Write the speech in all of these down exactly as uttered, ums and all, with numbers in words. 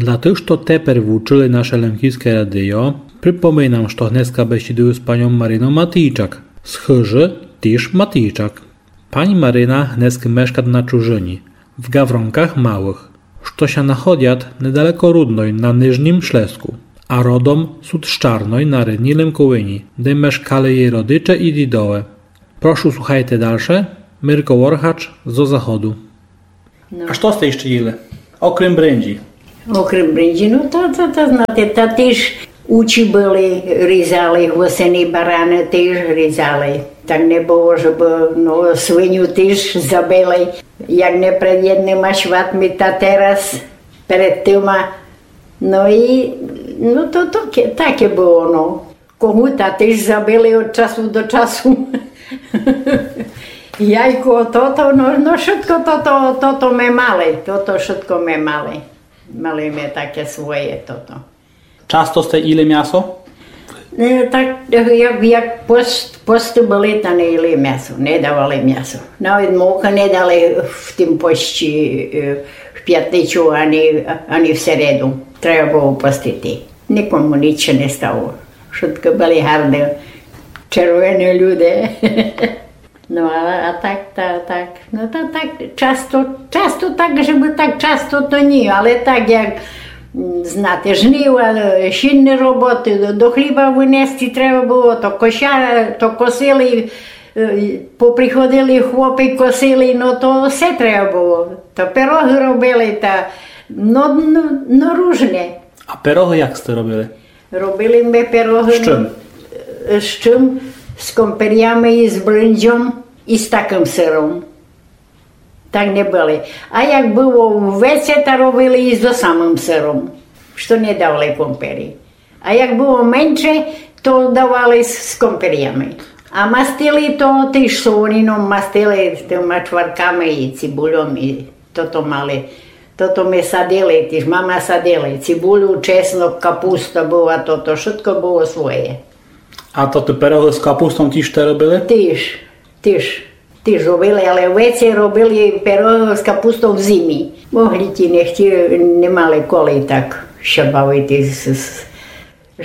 Для тых, што тепер вучыли наше Лемківске радіо, припоминам, што гнеска бесідую з паньом Маринов Матійчак, з хыжы тіж Матійчак. Пань Марина гнеска мешкат на чужыні, в Гавронках Малых, што ся находят недалеко Рудной на Нижнім Шлеску, а родом сут з Чарной на рідній Лемковині, де мешкали єй родиче і дідове. Прошу, слухайте дальше. Мирко Воргач зо заходу. Но. А што сте іщы їли? Окрім бринджі. Окрім бринджі, но то, то, то, знаєте, та тіж учі были, різали, гусины, бараны тіж різали. Так не было, жебы, но, свиню тіж забили, як не перед єдныма шватми, та тераз перед тыма. Но і, но то, то ке-, таке было, но. Когута тіж забили од часу до часу. Яйко, тото, но, но, вшытко тото, тото ме мали, тото вшытко ме мали. Мали ме таке своє тото. Часто сте їли мясо? Е, так, як, як пост-, посты были, та не їли мясо, не давали мясо. Навет мука не дали в тым пості, е, в пятницю ани, ани в середу. Треба было постити. Никому нич не стало. Вшытко были гарды, червени люде. Но, а, а так, та, так, но, та, так, часто, часто так, жебы так часто, то ні, але так, як, м, знате, жнива, е, сінны роботы, до, до хліба вынести треба было, то кося-, то косили, е, поприходили хлопы, косили, но, то всьо треба было. То пирогы робили, та, но, но, но, ружне. А пирогы як сте робили? Робили мы пирогы, з чым? З чым? З комперями і з бринджом і з такым сыром. Так не были. А як было веце, та робили і зо самым сыром, што не давали компері. А як было менше, то давали з, з комперями. А мастили то тіж солонином, мастили тыма чварками і цибульом і Тото мали, тото мы садили, тіж мама садили. Цибулю, чеснок, капуста была, тото, вшытко было своє. А то ты пирогы з капустом тіж сте робили? Тіж, тіж, тіж робили, але веце робили пирогы з капустом в зимі. Могли ті, не хтіли, не мали коли так ся бавити з, з...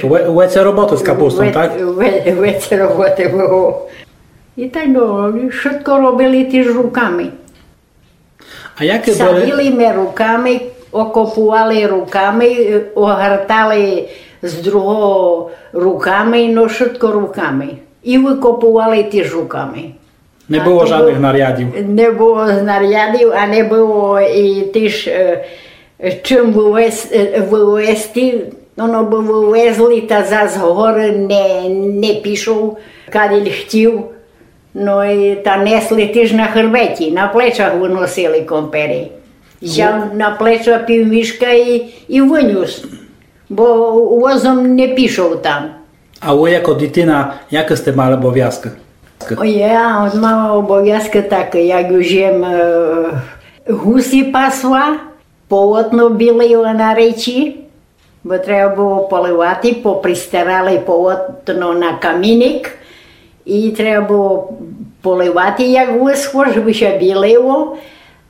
Ве-, веце роботы з капустом, ве-, так? Ве-, веце роботы было. І так, но, вшытко робили тіж руками. А яке были? Садили мы руками, окопували руками, е, огортали з другого руками, но вшытко руками. І выкопували тіж руками. Не было жадных нарядів? Не было нарядів, а не было і тіж, е, чым вывез-, е, вывезти. Оно бы вывезли, та зас горы не, не пішов, кадиль хтів. Но і та несли тіж на хрбеті, на плечах выносили компери. Взяв на плеча пів мішка і, і вынюс, бо возом не пішов там. А вы яко дитина, якы сте мали обовязкы? Ой, я мала обовязкы такы, як уж єм, е, гусі пасла, полотно білила на речі, бо треба было поливати, попристирали полотно на каміник, і треба было поливати, як высхло, жебы ся білило.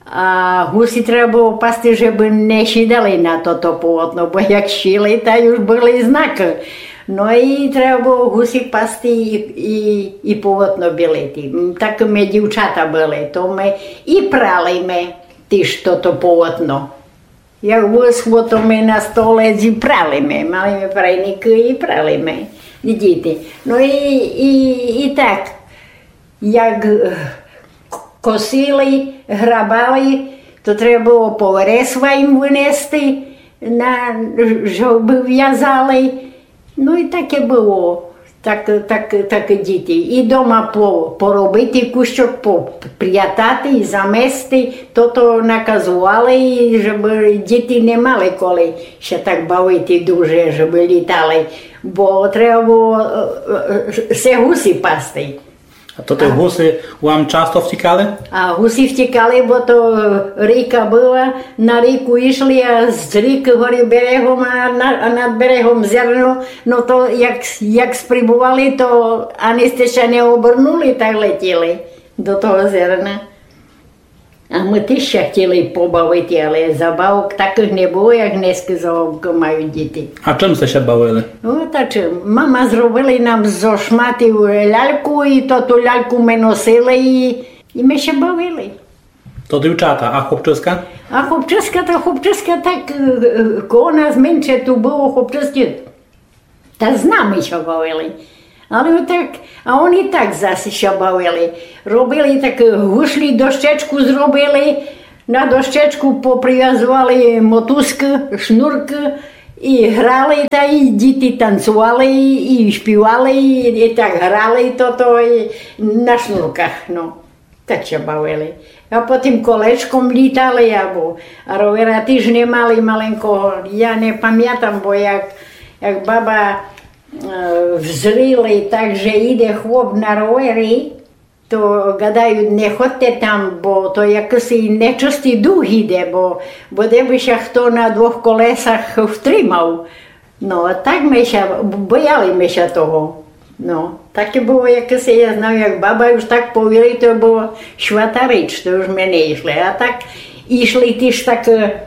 А гусі треба было пасти, жебы не сідали на тото полотно, бо як сіли, та уж были знакы. Но і треба было гусі пасти і, і, і полотно білити. М, так мы дівчата были, то мы і прали мы тіж тото полотно. Як высхло, то мы на столе і прали мы, мали мы прайникы і прали мы, і діти. Но і, і, і так, як, е, к-, косили, грабали, то треба было по вересва їм вынести, на, жебы вязали. Но і таке было. Так, так, так діти. І дома по-, поробити кущок, попрятати і замести. Тото наказували, і жебы діти не мали коли ся так бавити дуже, жебы літали. Бо треба было, е, е, е, се гусі пасти. А то ті гусі вам часто втікали? А гусі втікали, бо то, е, ріка была, на ріку йшли, а з рікы горы берегом, а на-, а над берегом зерно. Но то як, як спрібували, то ани сте ся не обернули, так летіли до того зерна. А мы тіж ся хотіли побавити, але забавок такых не было, як днеска забавкы мають діти. А чым сте ся бавили? Ну, та чым, мама зробила нам зо шматы ляльку, і то ту ляльку мы носили, і, і мы ся бавили. То дівчата, а хлопчиська? А хлопчиська, та хлопчиська так, е, е, коло нас менше ту было хлопчиськых. Та з нами ся бавили. Але отак, а они так зась ся бавили. Робили так, е, гушлі, дощечку зробили, на дощечку попривязовали мотузкы, шнуркы і грали, та і діти танцовали, і, і шпівали, і, і так грали тото, і на шнурках, ну. Так ся бавили. А потім колечком літали, або, а ровера тіж не мали маленького. Я не памятам, бо як, як баба, е, взріла так, же іде хлоп на ровері, то гадають: «Не ходте там, бо то якысь нечыстый дух іде, бо, бо де бы ся хто на двох колесах втримав». Но, а так мы ся, бояли мы ся того. Но, таке было якесь, я знаю, як баба уж так повіли, то было свята річ, то уж мы не йшли. А так йшли тіж так, е,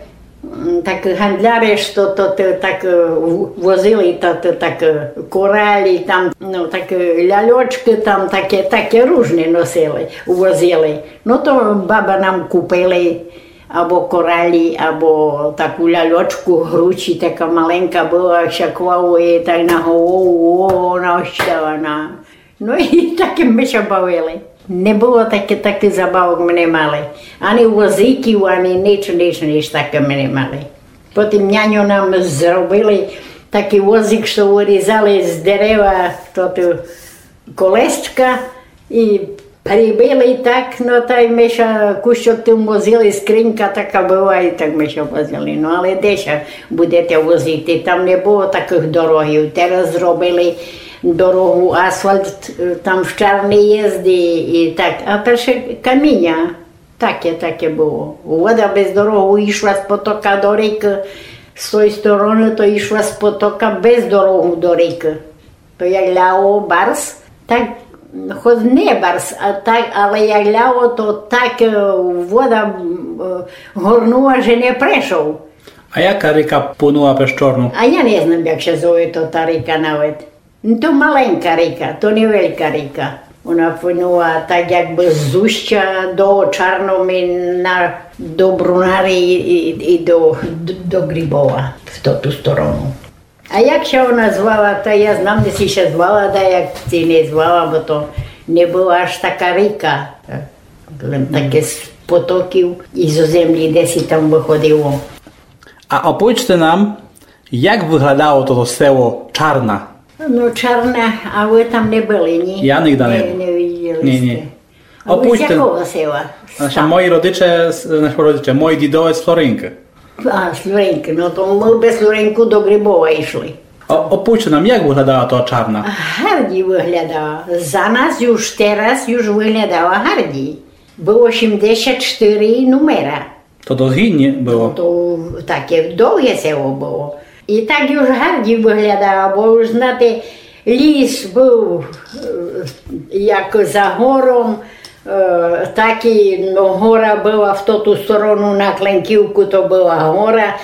м, так гандляры, што то, то так, е, в-, возили, то, то так, е, коралі, там, но, так, е, ляльочкы, там таке, таке ружне носили, возили. Но, то баба нам купили, або коралі, або таку ляльочку гручі, така маленька была, як ся клало єй так на голову, о, она остала на. Но і таке мы ся бавили. Не было таке, такых забавок мы не мали. Ани возиків, ани нич, нич, нич таке мы не мали. Потім няньо нам зробили такый возик, што вырізали з дерева, то ту колесчка і прибили так, но, тай мы ся кусьок тым возили, скринька така была, і так мы ся возили. Но, але де ся будете возити? Там не было такых дорогів. Тераз зробили дорогу, асфальт, е, там в чарный єздит, і так. А перше каміня. Таке, таке было. Вода без дорогу йшла з потока до рікы, з той стороны то йшла з потока без дорогу до рікы. То як ляло барз, так, хоц не барз, а так, але як ляло, то так, е, вода, м, е, горнула, же не прешов. А яка ріка плынула през Чорну? А я не знам, як ся зове то та ріка навет. То маленька ріка, то не велька ріка. Она плынула так якбы з Устя до Чарномина, до Брунары і, і, і до, до, до Грибова, в тоту сторону. А як ся она звала, та я знам, де си ся звала, да як си не звала, бо то не была аж така ріка. Лем таке з потоків і зо землі, де си там выходило. А опойчте нам, як выглядало тото село Чарна? Но, Чарна, а вы там не были, ні? Я нигда не был. Не виділи сте. Ні, ні. А вы з якого села? Значыт, мої родиче, з-, значыт, родиче, мої дідове з Флоринкы. А, з Флоринкы, но то мы без Флоринку до Грибова йшли. А опойчте нам, як выглядала та Чарна? Гарді выглядала. За нас уж тераз уж выглядала гарді. Было сімдесят штыри нумера. То досц гідні было. То таке довге село было. І так уж гарді выглядало, бо уж, знате, ліс быв, е, як за гором, е, так і, но, гора была в тоту сторону на Кленківку, то была гора,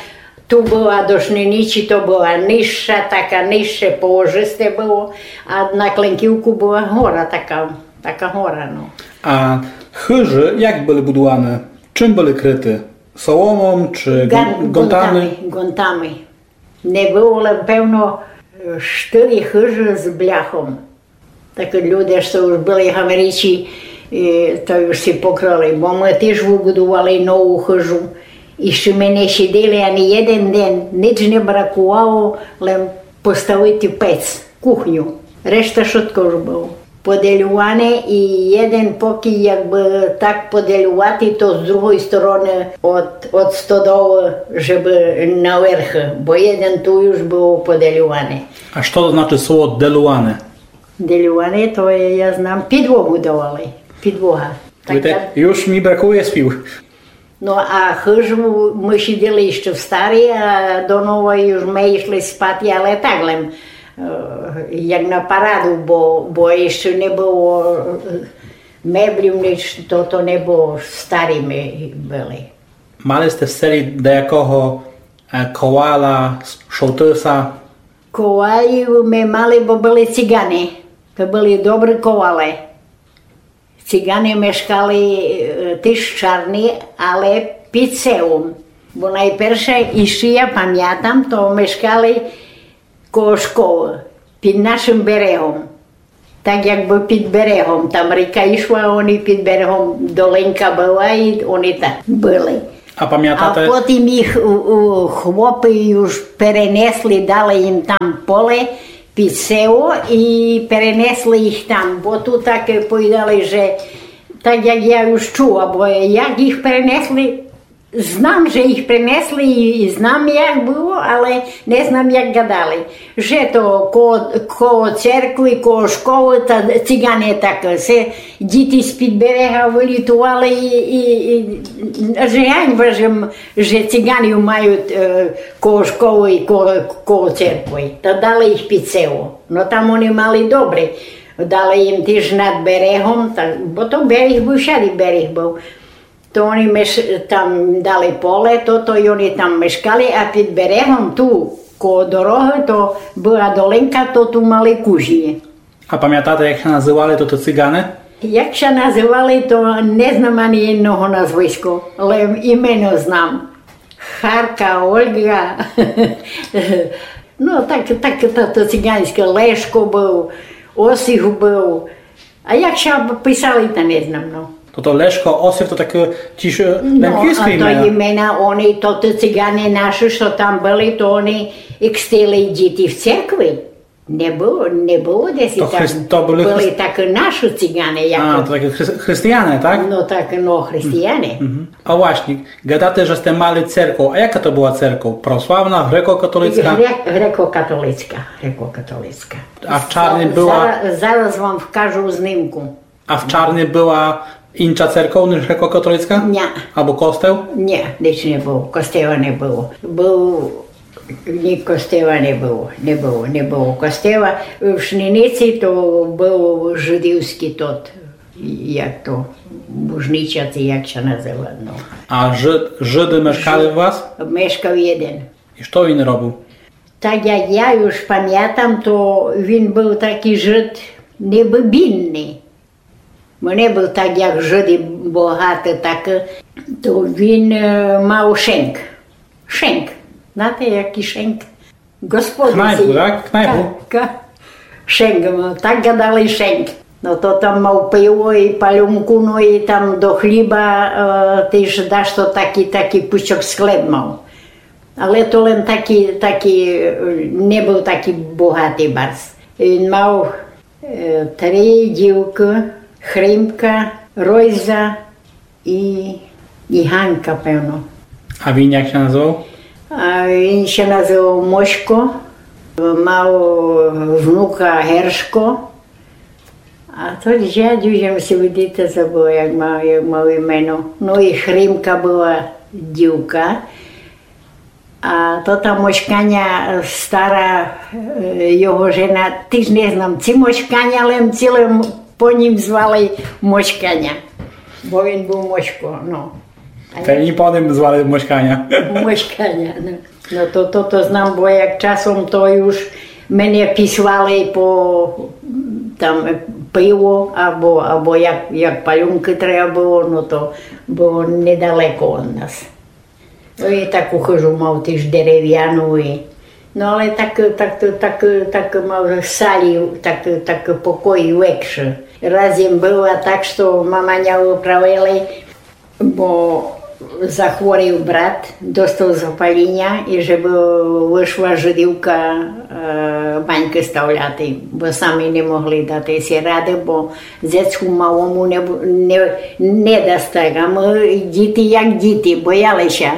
ту была до Шниничі, то была нижша, така нижше положисте было, а на Кленківку была гора така, така гора, но. А хыжы як были будуваны? Чым были крыты? Соломом чи гон-, гонтами? Гонтами, гонтами. Не было, лем певно, е, штыри хыжы з бляхом. Так люде, што уж были в Америці, е, то уж си покрыли. Бо мы тіж выбудували нову хыжу. І ще мы не сиділи ани єден ден, нич не бракувало, лем поставити пец, кухню. Решта шытко уж было подельуване і єден покій, якбы так подельувати, то з другой стороны од, од стодолы, жебы наверх, бо єден ту уж было подельуване. А што то значыт слово делуване? Делюване, то є, я знам, підлогу давали. Підлога. Видите, так, так. Уж мі бракує слів. Но, а хыжу мы сиділи іщы в старій, а до новой уж мы йшли спати, але так лем, е, як на параду, бо, бо іщы не было, е, Меблів нич, то, то не было, старі мы были. Мали сте в селі даякого, е, ковала, с-, шовтыса? Ковалів мы мали, бо были цигане. То были добрі ковале. Цигане мешкали, е, тіж чарні, але під селом. Бо найперше, іщі я памятам, то мешкали коло школы, під нашым берегом. Так якбы під берегом, там ріка ішла, они під берегом, долинка была, і они там были. А памятате? А потім їх у, у хлопы уж перенесли, дали їм там поле під село і перенесли їх там, бо ту так повідали, же так як я уж чула, бо як їх перенесли, знам, же їх принесли і, і знам, як было, але не знам, як гадали. Же то коло, коло церкви, коло школы, та цигане так, се діти з-під берега вылітували і, і, і же ганьба, же, м-, же циганів мають, е, коло школы і коло, коло церкви. Та дали їх під село. Но там они мали добре. Дали їм тіж над берегом, та, бо то берег быв, всяды берег быв. То они меш-, там дали поле, тото, і они там мешкали, а під берегом ту, коло дорогы, то была долинка, то ту мали кузні. А памятате, як ся называли тоты цигане? Як ся называли, то не знам ани єдного назвиска, лем імено знам. Харка, Ольга. Но, так, так, то, то циганьске, Лешко быв, Осип быв. А як ся писали, та не знам, но. Тото Лешко, Осип, то такы тіж, е, лемківскы імена. Но, а то імена, они, то, то цигане нашы, што там были, то они ікстили діти в церкви. Не было, не было десь там. То хрис-, то были были хрис-, такы нашы цигане, як... А, то такы хрис-, християне, так? Но так, но, християне. Мгм. А власні, гадате, же сте мали церков. А яка то была церков? Православна, греко-католицка? Гре-, греко-католицка, греко-католицка. А в Чарній была? Зараз, зараз вам вкажу знимку. А в Чарній была інша церков, ніж греко-католицка? Ня. Або костел? Ня, ніч не было. Костела не было. Быв, ні, костела не было. Не было, не было костела. В Шниниці то быв жыдівскый тот, як то, бужнича, ци як ся называт, но. А жыд, жыды мешкали у вас? Мешкав єден. І што він робив? Так як я уж памятам, то він быв такый жыд, небы бідный. Бо не быв так, як жыды богаты, так, е, то він, е, мав шенк. Шенк. Знаєте, якый шенк? Господи, кнайпу, так? Кнайпу? Ка-, ка-, шенк, но, так гадали шенк. Но то там мав пиво і палюнку, но і там до хліба, е, тіж дашто такый, такый пучок склеп мав. Але то лем такый, такый, е, не быв такый богатый барз. Він мав Е, три дівкы, Хримка, Ройза і, і Ганка, певно. А він як ся называв? А він ся называв Мосько, мав внука Гершко. А то дядю, же си видите, забыла, як мав, як мав імено. Но і Хримка была дівка. А то та Моськаня, е, стара, е, його жена, тіж не знам, ци Моськаня, лем ци лем по нім звали Моськаня. Бо він быв Мосько, но. А та я ні по нім звали Моськаня. Моськаня, но. Но то, то, то знам, бо як часом то уж мене післали по, там, пиво, або, або як, як палюнкы треба было, но то было недалеко од нас. Но і таку хыжу мав тіж деревяну і, но але так, так, так, так мав салі, так, так покої векшы. Раз єм была так, што мама ня выправили, бо захворів брат, достав запаліня і же бы вышла жыдівка, е, банькы ставляти, бо самі не могли дати си рады, бо дзецку малому не бу-, не, не даст так, а мы діти як діти, бояли ся.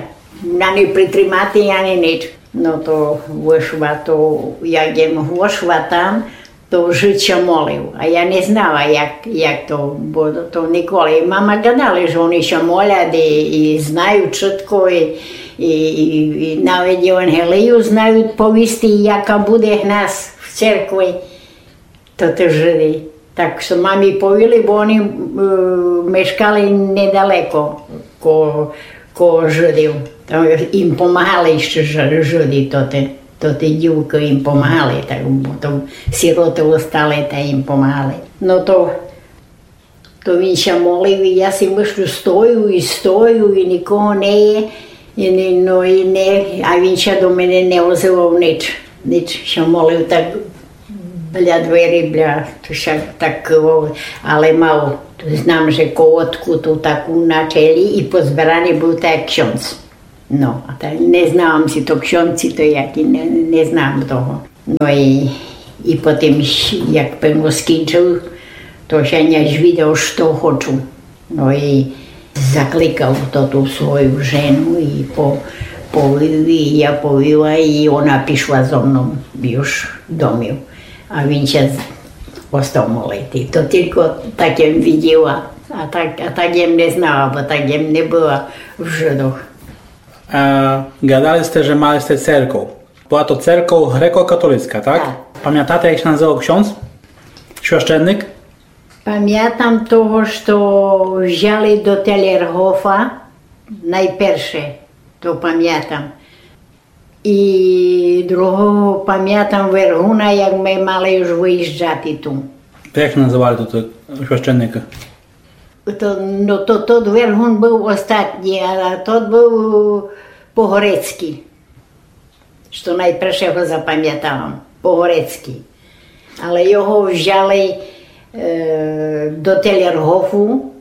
Ани притримати, ани нич. Но то вышла, то як єм вышла там, то жыд ся молив. А я не знала, як, як то, бо то николи. І мама гадали, же они ся молят і, і знають вшытко, і, і, і, і навет Євангелію знають повісти, яка буде в нас в церкви. То тіж жыды. Так што мамі повіли, бо они, е, мешкали недалеко ко-, коло Жыдів. Там ім помагали іщы Жы-, Жыды тоты. Тоты дівкы ім помагали, так, бо то сіроты остали, та ім помагали. Но то, то він ся молив, і я си мыслю, стою і стою, і никого не є, і не, но і не, а він ся до мене не озывав нич, нич ся молив так бля двері, бля, то ся так кывав, але мав, знам, же колодку ту таку на челі і позбераный быв так ксьондз. Но, а та не знала м, ци то ксьондз, ци то якый, не, не знам того. Но і, і потім, як певно скінчыв, то ся не звідав, што хочу. Но і закликав то ту свою жену і по-, повів, і я повіла, і она пішла зо мном юж домів. А він ся з-, остав молити. То тілько так єм виділа, а так, а так єм не знала, бо так єм не была в Жыдох. Е, гадали сте, же мали сте церков. Была то церков грекокатолицка, так? Так. Памятате, як ся называв ксьондз? Священник? Памятам того, што взяли до Телергофа найперше, то памятам. І другого памятам Вергуна, як мы мали юж выїжджати ту. Як ся называли туй священника? То, но, то, тот Вергун быв остатній, а тот быв по-грецькы. Што найперше го запамятала, по-грецькы. Але його взяли, е, до Телергофу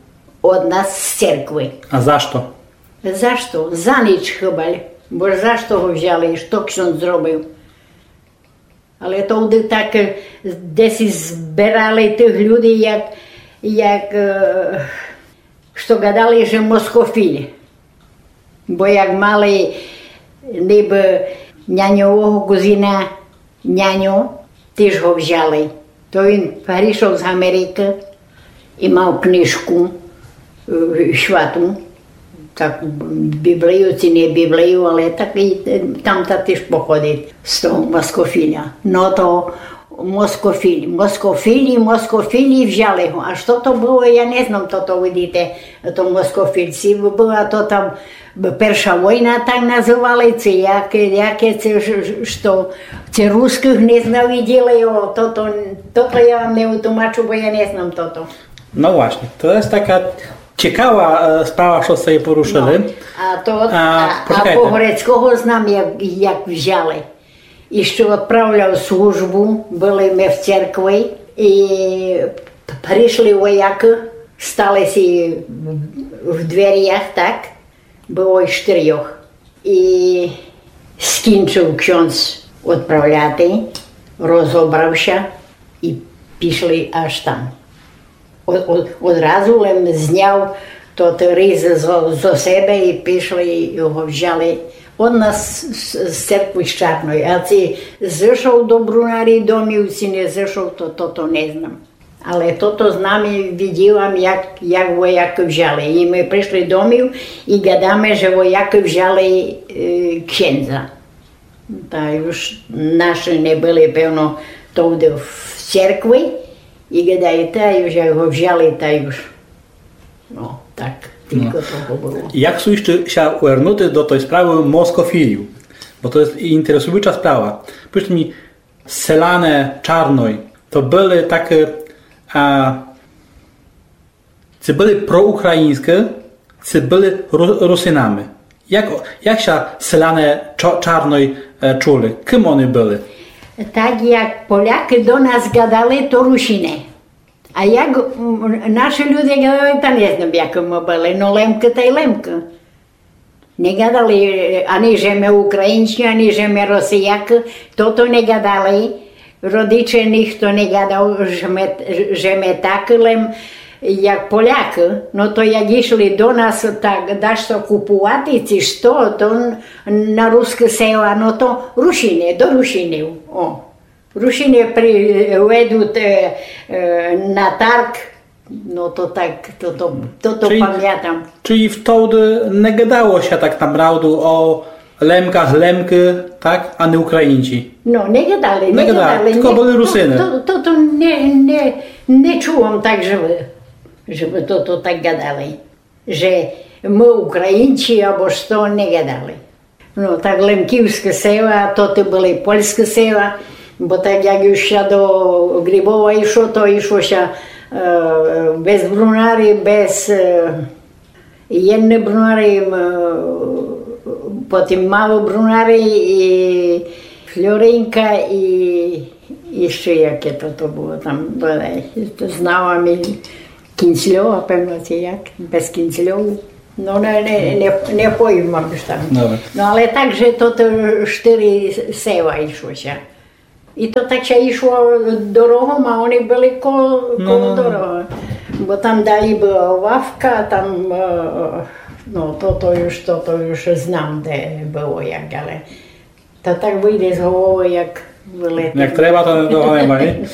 од нас з церквы. А за што? За што? За нич хыбаль. Бо за што го взяли? Што ксьондз зробив? Але товды так, е, десь зберали тых людей, як, як, е, што гадали, же москофіль. Бо як мали нибы няньового кузина, няньо, тіж го взяли. То він пришов з Америкы і мав книжку, е, святу, так, Біблію, ци не Біблію, але так і, е, там та тіж походить з того москофіля. Но то москофіль, москофілі, москофілі взяли го. А што то было, я не знам, тото, видите, то москофіль. Ци была то там перша война, так называли, ци яке, яке ци ж-, ж-, што, ци рускых не знавиділи, о, тото, тото я вам не утумачу, бо я не знам тото. Но власьні, то єст така цікава, е, справа, што сте порушыли. Но, а то, а, а, а почекайте. По-грецького знам, як, як взяли. І што одправляв службу, были мы в церкви, і пришли воякы, стали си в дверях, так, было іх штырьох. І скінчыв ксьондз одправляти, розобрав ся, і пішли аж там. Од-, од-, одразу лем зняв тот різ зо, зо себе і пішли, і го взяли. Од нас з, з, з церкви з Чарной. А ци зышов до Брунарі домів, ци не зышов, то, то, то не знам. Але тото знам і виділа м, як, як воякы взяли. І мы пришли домів і гадаме, же воякы взяли, е, ксьондза. Та юж нашы не были, певно, товды в церкви, і гадаю, та юж як го взяли, та юж. Но, так, тілько того было. Як су іщы ся вернути до той справы москофілів? Бо то єст інтересуюча справа. Повіджте мі, селяне Чарной, то были такы, а, ци были проукраїньскы, ци были ру-, Русинами. Як, як ся селяне Чо-, Чарной, е, чули? Кым они были? Так як Полякы до нас гадали, то Русины. А як, м, нашы люде гадали, та не знам, якы мы были. Но, Лемкы тай Лемкы. Не гадали, е, ани же мы Українці, ани же мы Росіякы, тото не гадали. Родиче нихто не гадав, же мы, же мы такы, лем як Полякы. Но то як ішли до нас, так дашто купувати, ци што, то н-, на рускы села, но то Русины, до Русинів. О. Русины при-, ведуть, е, е, на тарг, но то так, то, то, то, то памятам. Чилі втовды не гадало ся так направду о Лемках, Лемкы, так? А не Українці. Но, не гадали, не гадали, тілько были Русины. То, то, то не, не, Не чула м так, же бы, же бы то, то так гадали, же мы українці або што, не гадали. Но, так лемківскы села, то ты были польскы села, бо так як юж ся до Грибова ішло, то ішло ся е, без Брунары, без е, Єдны Брунары, е, потім Малы Брунары і Флоринка і, і іщы яке то, то было там, бодай, то знала м Кінцльова, певно, ци як, без Кінцльову. Но, не, не, не, не повім вам, што там. Добре. Но, але так, же то, то штыри села ішло ся. І то так ся ішло дорогом, а они были коло, коло дорогы. Бо там далі была лавка, там, е, но, то, то юж, то, то юж знам, де было як, але то так выйде з головы, як вылетить. Як треба, то не того нема, ні?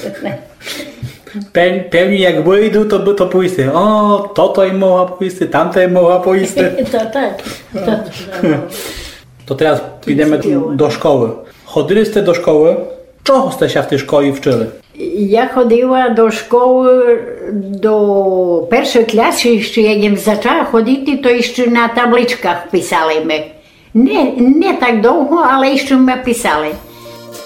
Пев-, певні як выйду, то бы то повісти. О, тото ім могла повісти, тамто ім могла повісти. То так. То, то, То тераз підеме до школы. Ходили сте до школы? Чого сте ся в тій школі вчыли? Я ходила до школы до першой класы, іщы як єм зачала ходити, то іщы на табличках писали мы. Не, не так довго, але іщы мы писали.